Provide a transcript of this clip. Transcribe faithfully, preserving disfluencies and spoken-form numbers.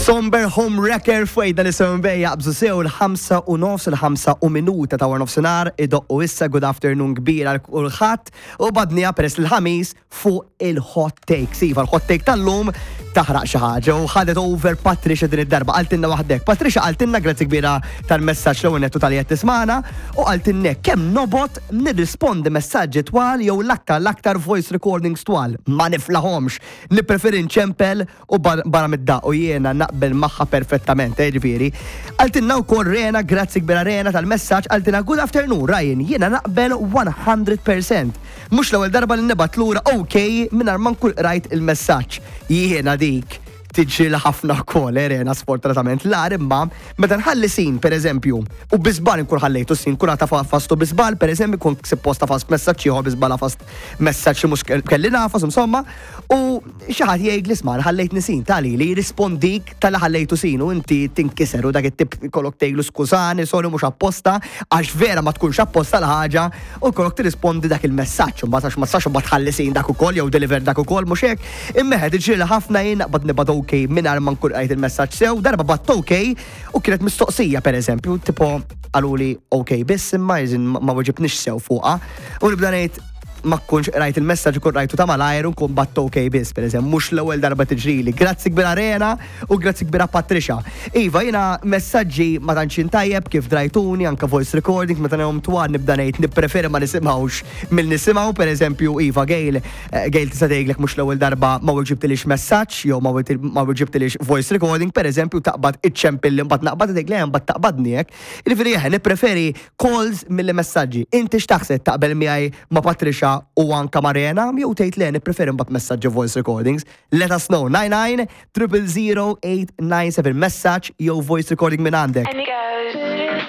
Somber Home Wrecker fwejda li seven jaqbżu sew il-ħamsa u nofs, il-ħamsa u minuta ta' nofsinhar idoqqu issa. Good afternoon kbira għal kulħadd u badnija peress il-Ħamis fuq il-hot take. Iva, l-hot take tal-lum taħraq xi ħaġa u ħadet over Patricia din id-darba. Qaltilna waħdek. Patricia qaltilna, grazzi kbira tal-messaġġ l nettu tal qed tismana, u qaltilna kemm nobgħod nirrispondi messaġġi twal jew l-aktar l-aktar voice recordings twal. Ma niflaħomx. Nippreferi nċempel u barra mid-daq u jiena naqbel magħha perfettament, eh, ġifieri. Qaltilna wkoll Rena, grazzi kbira Rena tal-messaġġ, qaltilna: "Good afternoon Ryan, jiena naqbel mija fil-mija. Mhux l-ewwel darba li nibgħat lura OK mingħajr ma nkun rajt il-messaġġ." Jiena dik tiġi ħafna wkoll, eh, Rena, sfortunatament. L imma meta nħalli seen, per eżempju, u bi żball nkun ħallejtu seen, kun għata fastu bi żball, per eżempju, kun suppost għafast messaġġ ieħor, bi żball għafast messaġġ li mhux kelli nagħfas, insomma, u xi ħadd jgħid li isma' ħallejtni seen tali li jirrispondik talli ħallejtu seen u inti tinkiser u dak it-tip kollok tgħidlu skużani, sorry, mhux apposta, għax vera ma tkunx apposta l-ħaġa u kollok tirrispondi dak il-messaġġ, u mbagħad għax ma tistax mbagħad tħalli seen dak ukoll jew deliver dak ukoll, mhux hekk. Imma tiġri ħafna jien naqbad nibgħat OK mingħajr ma nkun qrajt il-messaġġ sew. Darba bgħatt OK u kienet mistoqsija, per eżempju, tipo qaluli OK biss imma jizin ma weġibnix sew fuqha. U nibda ngħid ma kunx rajt il-messaġġ, ikun rajtu ta' malajr u nkun bgħatt OK biss, per eżempju, mhux l-ewwel darba tiġrili. Grazzi kbira Rena u grazzi kbira Patricia. Iva, jiena messaġġi ma tantx tajjeb kif drajtuni, anka voice recording, meta nehom twal nibda ngħid nippreferi ma nisimgħux mill nisimgħu, per eżempju, iva, Gail, eh, Gail tista' tgħidlek mhux l-ewwel darba ma weġibtilix messaġġ jew ma weġibtilix voice recording, per eżempju, taqbad iċċempil li mbagħad naqbad tgħid le mbagħad taqbadni hekk. Jiġifieri eħe, nippreferi calls milli messaġġi. Inti x'taħseb, taqbel miegħi, ma' Patricia u anka Marena, jew tgħid le, nippreferi mbagħad messaġġi, voice recordings? Let us know. nine nine triple zero eight nine seven, messaġġ jew voice recording minn għandek.